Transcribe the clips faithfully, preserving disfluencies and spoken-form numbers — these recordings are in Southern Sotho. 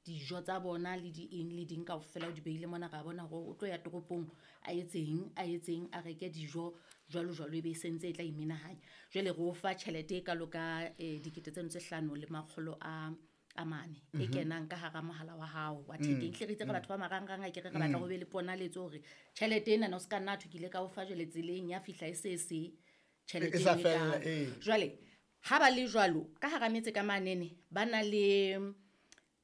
Dijo tsa bona le di eng le ding kaofela o di behile mona, ra bona hore o tlo ya toropong a etseng, a etseng, a reke dijo jwalo jwalo, ebe e sentse e tla imenahanya. Jwale re o fa tjhelete e kalo ka um dikete tseno tse hlano le makgolo a a mane e kenang ka hara mohala wa hao wa thekeng. Hle re itse re batho ba marangrang, akere re batla ho be le ponaletso hore tjhelete enana o ska nna thwe ke ile ka o fa jwale tseleng ya fihla e se se tjhelete E sa eno e fella, kalo. Ee. Jwale ha ba le jwalo ka hara metse ka manene, ba na le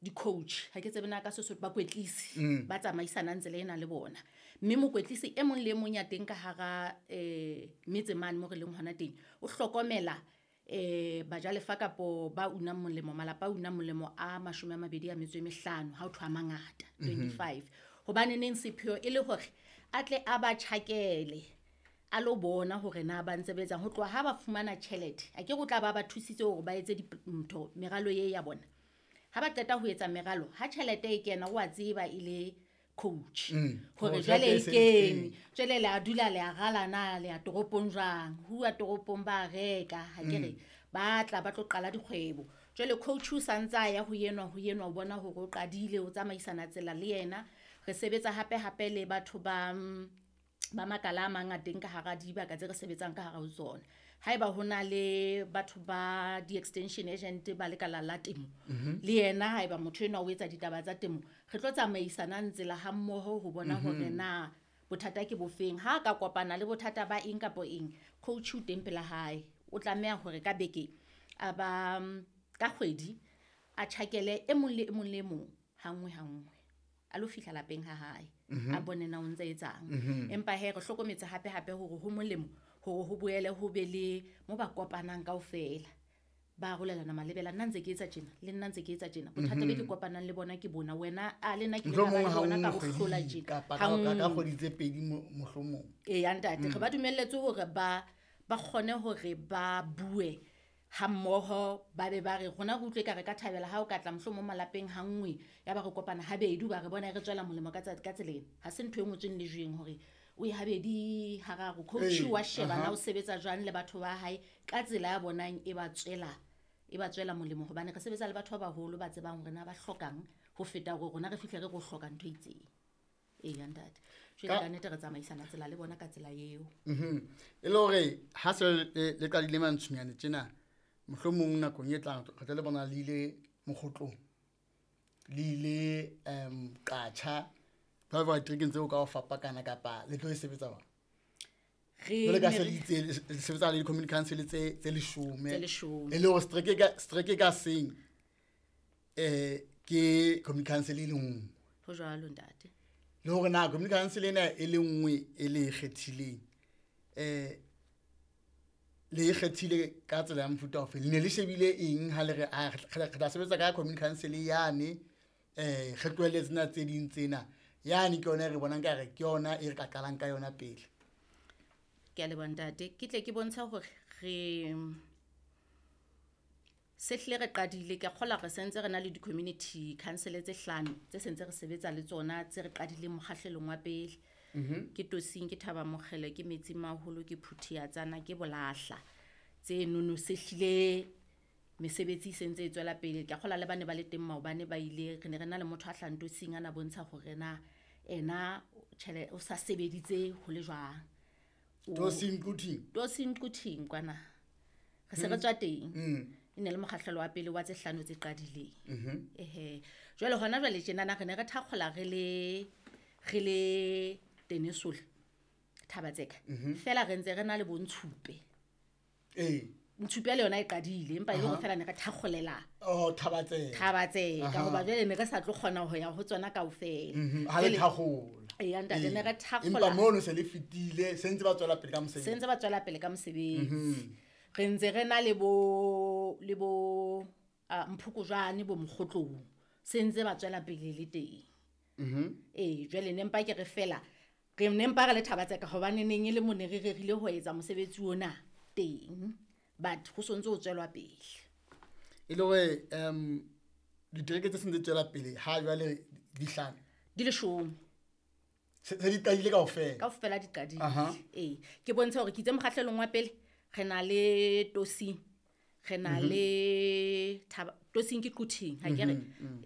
di-coach, ha ke tsebe na ka Sesotho, bakwetlisi ba tsamaisanang tsela ena le bona. Mme mokwetlisi e mong le e mong ya teng ka hara um metse mane mo re leng hona teng, o hlokomela um bajalefa kapo ba unang molemo, malapa a unang molemo a mashome a mabedi a metso e mehlano, ha ho thwe a mangata twenty-five. Hobane neng sepheo e le hore a tle a ba tjhakele, a lo bona hore na ba ntse ba etsang. Ho tloha ha ba fumana tjhelete, akere o tla ba ba thusitse hore ba etse ntho meralo e ya bona. Ha ba qeta ho etsa meralo, ha tjhelete e kena o a tseba e le coach Mm. hore Hore jwale tjhelete e e se- kene. ee. Jwale le a dula le a rala na le ya toropong jwang, huwa toropong ba reka, ha ke re ba tla ba tlo qala dikgwebo. Jwale coach o sa ntse a ya ho enwa, ho enwa, o bona hore o qadile, o tsamaisana tsela le yena. Re sebetsa hape hape le batho ba, ba makala a mang a teng ka hara dibaka tse re sebetsang ka hara ho tsona. Haeba ho na le batho ba di-extension agent ba lekala la temo, le yena haeba motho enwa o etsa ditaba tsa temo, re tlo tsamaisanang tsela ha mmoho ho bona hore na bothata ke bofeng. Ha ka kopana le bothata ba eng kapa eng, coach o teng pela hae. O tlameha hore ka beke a ba, ka kgwedi a tjhakele e mong le e mong le e mong ha nngwe ha nngwe, a lo fihla lapeng ha hae, a bone na o ntse etsang. Empa hee re hlokometse hape hape hore ho molemo hore ho boele ho be le mo ba kopanang kaofela, ba arolelana malebela. Nna ntse ke etsa tjena, le nna ntse ke etsa tjena, bothata be ke kopanang le bona ke bona, wena a le nna ke ile ka ba Mohlomong le ha bona ka nngwe ho hlola kgweding tjena. kapa Ha ka ka nngwe. kgwedi tse pedi mo- mohlomong. Eya ntate, re ba dumelletse hore ba ba kgone hore ba bue ha mmoho, ba be ba re rona re utlwe ka re ka thabela ha o ka tla mohlomong malapeng ha nngwe, ya ba re kopana habedi, ba re bona re tswela molemo ka tsa-, ka tsela ena. Ha se ntho e ngotsweng lejweng hore o ye habedi hararo. Coach Ee, wa sheba na aha. o sebetsa jwang le batho ba hae ka tsela ya bonang e ba tswela, e ba tswela molemo, hobane re sebetsa le batho ba baholo ba tsebang hore na ba hlokang ho feta hore rona re fihle re re o hloka ntho e itseng. Eya ntate, jwale Ka ka nnete re tsamaisana tsela le bona ka tsela eo. Mhm. E le hore ha se le, le qadile Mantsonyane tjena, mohlomong nakong e tlang re tla le bona le ile Mokgotlong, le ile, em, Qatjha, ba ba diterekeng tseo ka ho fapakana, kapa le tlo e sebetsa jwang? Re Jwale ka ne se re le itse, le le sebetsa le di-community council tse, tse leshome. Tse leshome. E le hore setereke ka, setereke ka seng, eh, ke community council e le nngwe. Ho jwalo ntate. Le hore na community council ena e le nngwe e le e kgethileng, eh, le e kgethile ka tsela ya mofuta ofe? Le ne le shebile eng ha le re, ah, re tla, re tla sebetsa ka community council yane, eh, re tlohelle tsena tse ding tsena, yane ke yona e re bonang ka re ke yona e re ka qalang ka yona pele. Ke a leboha ntate. Ke tle ke bontsha hore re se hlile re qadile, ke a kgolwa re sentse re na le di-community council tse hlano tse sentse re sebetsa le tsona, tse re qadileng mokgahlelong wa pele. Mhm. Ke Tosing, ke Thaba Mokgele, ke Metsi Maholo, ke Phuthiatsana, ke Bolahla. Tse nono se hlile mesebetsi e sentse e tswela pele. Ke a kgolwa le ba ne ba le teng maobane ba ile, re ne re na le motho a hlahang Tosing a na bontsha hore na ena tjhele o sa sebeditse ho le jwang. O- Tosing Quthing? Tosing Quthing kwana. Re se re tswa teng. Mm. E ne le mokgahlelo wa pele wa tse hlano tse qadileng. Mhm. Ehe. Jwale hona jwale tjenana re ne re thakgola re le, re le Tenesole, Thabatseka. Mhm. Feela re ntse re na le bo Ntshupe. Ee. Ntshupe le yona e qadile, empa e le hore Aha. feela ne re thakgolela Oh, Thabatseka. Thabatseka, Aha. hoba jwale ne re sa tlo kgona ho ya ho tsona kaofela. Mhm. Ha le Jwale thakgola. Eya, ntate, ne re Ee. thakgola. Empa mono se le fetile, se ntse ba tswela pele ka mosebetsi. Se ntse ba tswela pele ka mosebetsi. Mhm. Re ntse re na le bo, le bo, ah, Mphokojwane, bo Mokgotlong. Se ntse ba tswela pele le teng. Mhm. Ee, jwale ne mpa ke re fela, re ne mpa re le Thabatseka hobane neng e le mo ne re rerile ho etsa mosebetsi ona teng. But ho sontse ho tswelwa pele. E le hore, em, ditereke tse seng di tswela pele ha jwale di hlano? Di leshome. Se, se di qadile kaofela? Kaofela di qadile. Aha. Ee, ke bontshe hore ke itse mokgahlelong wa pele, re na le Tosing, re na Mhm. le Thaba, Tosing ke Quthing, ha ke re? Mhm, mhm.